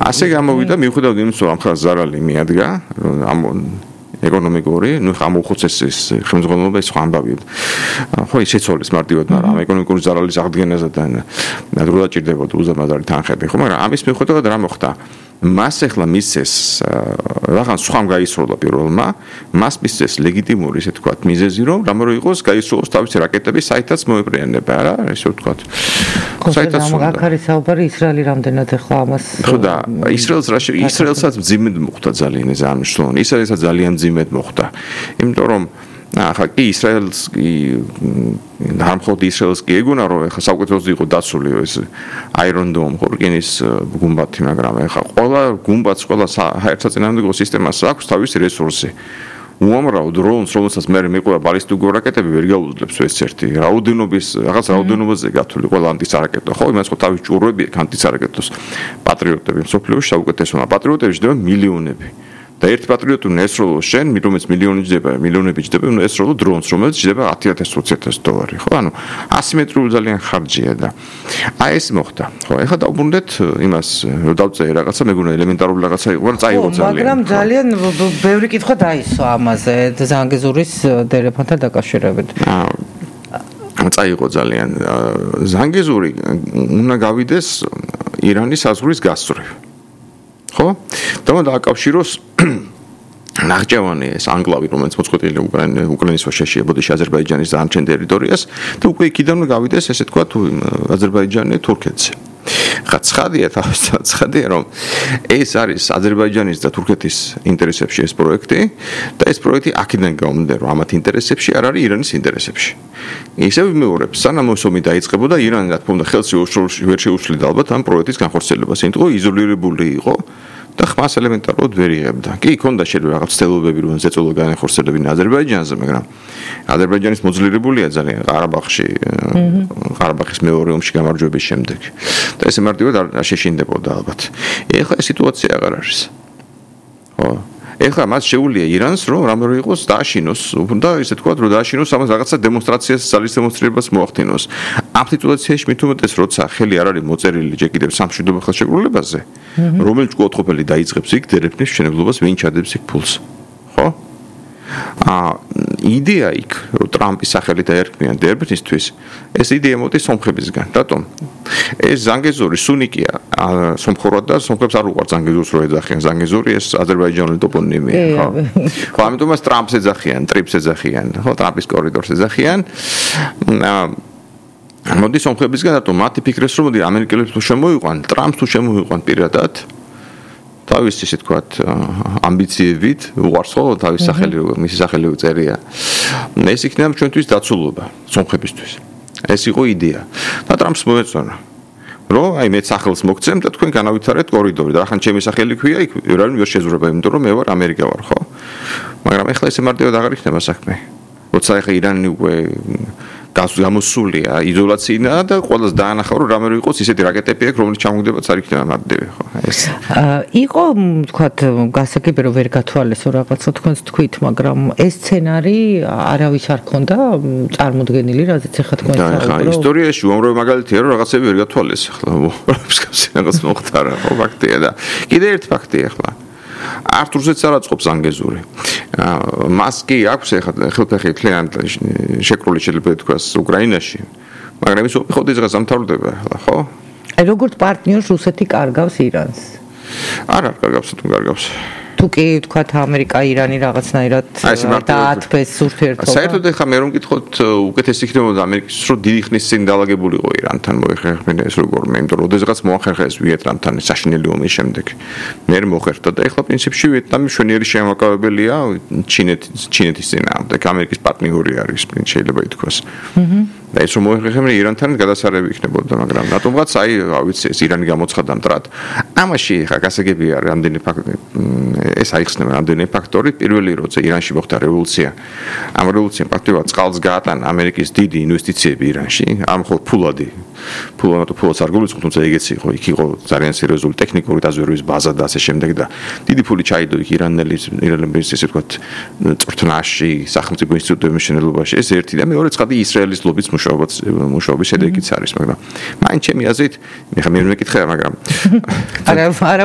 ასე გამოვიდა მიუხედავად იმისა, რომ ახლა ზარალი მიადგა, ამ ეკონომიკური, ამოუხოცეს ეს ხელმძღვანელობა ის ამბავი. ხო, ის შეცვალეს მარტივად, მაგრამ ამ ეკონომიკური ზარალის აღდგენაზე და დრო დაჭირდებოდა უზარმაზარი თანხები, ხო, მაგრამ ამის მიუხედავად რა მოხდა? მას ახლა მისცეს რაღაც სხვამ გაისროლა პირველმა, მას მისცეს ლეგიტიმური, ესე ვთქვათ, მიზეზი, რომ რამე რო იყოს გაისროლოს თავისი რაკეტები საითაც მოეპრიანება, რა, ესე ვთქვათ. საითაც აქ არის საუბარი ისრაელი რამდენად ახლა ამას ხო და ისრაელსაც მძიმედ მოხდა ძალიან ეს ამშლონ. ისრაელსაც ძალიან მძიმედ მოხდა. იმიტომ რომ ახლა კი ისრაელს დამხოდ ისრაელს კი ეგონა რომ ახლა საუკეთესო იყო დაცული ეს Iron Dome ხორკინის გუმბათი, მაგრამ ახლა ყველა გუმბათს, ყველა საერთაშორისო სისტემას აქვს თავისი რესურსი. უამრავ დრონს, რომელსაც მე მეყვა ბალისტიკური რაკეტები ვერ გაუძლებს ეს ერთი. რაღაც რაოდენობაზე გათვლილი ყველა ანტისარაკეტო. ხო, იმას ხო თავის ჭურვები ანტისარაკეტოს პატრიოტები მსოფლიოში საუკეთესოა. პატრიოტები ჯდება მილიონები. და ერთ პატრიოტი უნდა ესროლოს შენ, რომელიც მილიონები ჯდება, უნდა ესროლო დრონს, რომელიც ჯდება 10,000-20,000 დოლარი, ხო? ანუ ასიმეტრიული ძალიან ხარჯია და აი ეს მოხდა. ხო, ეხლა დავბრუნდეთ იმას, რომ დავწერე რაღაცა, მეგონა ელემენტარული რაღაცა იყო, რა წაიღო ძალიან. მაგრამ ძალიან ბევრი კითხვა დაისვა ამაზე, ზანგეზურის დერეფანთან დაკავშირებით. წაიღო ძალიან. ზანგეზური უნდა გავიდეს ირანის საზღვრის გასწვრივ. ხო? და დააკავშიროს ნახჭევანი ეს ანკლავი, რომელიც მოწყვეტილი უკრაინის ვაშეშია ბოდიში აზერბაიჯანის დანარჩენ ტერიტორიას და უკვე იქიდან გავიდეს, ესე ვთქვათ, აზერბაიჯანი თურქეთზე. ხა ცხადია, რომ ეს არის აზერბაიჯანის და თურქეთის ინტერესებში ეს პროექტი და ეს პროექტი აქედან გამომდინარე, რომ ამათ ინტერესებში არ არის ირანის ინტერესებში. ისევ ვიმეორებ, სანამ ომი დაიწყებოდა, ირანი რა თქმა უნდა ხელს ვერ შეუშლიდა ალბათ ამ პროექტის განხორციელებას, იმიტომ რომ იზოლირებული იყო და ხმას ელემენტარულად ვერ იღებდა. კი, ქონდა შეიძლება რაღაც ცდილობები, რომ ზეწოლა განახორციელებინა აზერბაიჯანზე, მაგრამ აზერბაიჯანის მოძლიერებულია ძალიან ყარაბაღის მეორე ომში გამარჯვების შემდეგ. და ესე მარტივად არ შეშინდებოდა ალბათ. ეხლა ეს სიტუაცია აღარ არის. ხო. ეხლა მას შეუძლია ირანს, რომ რამე რო იყოს დააშინოს, და ისე თქვათ, რომ დააშინოს ამას რაღაცა დემონსტრაციას, ძალის დემონსტრირებას მოახდინოს. ამ სიტუაციაში მით უმეტეს, როცა ხელი არ არის მოწერილი ჯერ კიდევ სამშვიდობო ხელშეკრულებაზე, რომელიც კვოტყოფელი დაიწყებს იქ დერეფნის მშენებლობას, ვინ ჩადებს იქ ფულს. ხო? იდეა იქ, რომ ტრამპის სახელით აერქმიან დერბნისთვის, ეს იდეა მოდის სომხებისგან. რატომ? ეს ზანგეზური სუნიკია სომხურად და სომხებს არ უყვართ ზანგეზურს რო ეძახიან. ზანგეზური ეს აზერბაიჯანული ტოპონიმია, ხო? ხო, ამიტომ მას ტრამპს ეძახიან, ტრიპს ეძახიან, ხო, ტრამპის კორიდორს ეძახიან. მოდის სომხებისგან, რატომ? მათი ფიქრეს რომ მოდი ამერიკელებს თუ შემოიყვან, ტრამპს თუ შემოიყვან პირადად თავის ისე თქვათ ამბიციებით უყარს ხო თავის სახელი მისი სახელი უწერია. ეს იქნება ჩვენთვის დაცულობა სომხებისთვის. ეს იყო იდეა. და ტრამპს მოეწონა. რომ აი მე სახელს მოგცემ და თქვენ განავითარეთ კორიდორი და ახლა ჩემი სახელი ქვია იქ ვერ შეზურება, იმიტომ რომ მე ვარ ამერიკა ვარ, ხო? მაგრამ ეხლა ესე მარტივად აღარ იქნება საქმე. როცა ახლა ირანი უკვე გამოსულია იზოლაციიდან და ყველას დაანახა რომ რამე რო იყოს ისეთი რაკეტები აქვს რომელიც ჩამოგდებაც არ იქნება მარტივი ხო ეს იყო თქვათ გასაგები რომ ვერ გათვალესო რაღაცა თქვენს თქვით მაგრამ ეს სცენარი არავის არ ქონდა წარმოდგენილი რაზეც ახლა თქვენ საუბრობთ ისტორიაში უამრავი მაგალითია რომ რაღაცები ვერ გათვალეს ახლა რაღაც მოხდა რა ხო ფაქტია და კიდე ერთ ფაქტია ახლა არტურზეც არ აწყობს ზანგეზური. მას კი აქვს ახლა ხელფეხი თლიანად შეკრული შეიძლება ითქვას უკრაინაში. მაგრამ ის უხოდ ის გასამთავრდება ახლა, ხო? აი როგორც პარტნიორს რუსეთი კარგავს ირანს. არა, კარგავს თუ კარგავს. თუ კი თქვათ ამერიკა ირანი რაღაცნაირად დაათბეს ურთიერთობა. საერთოდ ახლა მე რომ გითხოთ უკეთესი იქნებოდა ამერიკის რო დიდი ხნის წინ დაალაგებულიყო ირანთან მოიხერხებინა ეს როგორ მე იმიტომ რომ ოდესღაც მოახერხა ეს ვიეტნამთან საშინელი ომის შემდეგ. მე მოხერხდა და ახლა პრინციპში ვიეტნამი მშვენიერი შემაკავებელია ჩინეთის წინააღმდეგ ამერიკის პარტნიორი არის შეიძლება ითქვას. და ეს რომ მოიხერხებინა ირანთან გადასარევი იქნებოდა მაგრამ რატომღაც აი რა ვიცი ეს ირანი გამოცხადდა მტრად. ამაში ახლა გასაგებია რამდენი ეს აიხსნება რამდენი ფაქტორი პირველი როცა ირანში მოხდა რევოლუცია ამ რევოლუციამ პრაქტიკულად წყალს გაატანა ამერიკის დიდი ინვესტიციები ირანში ამ ხო ფულადს არ გულისხმობ თუმცა ეგეც იყო იქ იყო ძალიან სერიოზული ტექნიკური დაზვერვის ბაზა და ასე შემდეგ და დიდი ფული ჩაიდო იქ ირანელის ესე ვთქვათ წვრთნაში სახელმწიფო ინსტიტუტების მშენებლობაში ეს ერთი და მეორე ცხადი ისრაელის ლობის მუშაობის შედეგიც არის მაგრამ მაინც ჩემი აზრით მე მეკითხა მაგრამ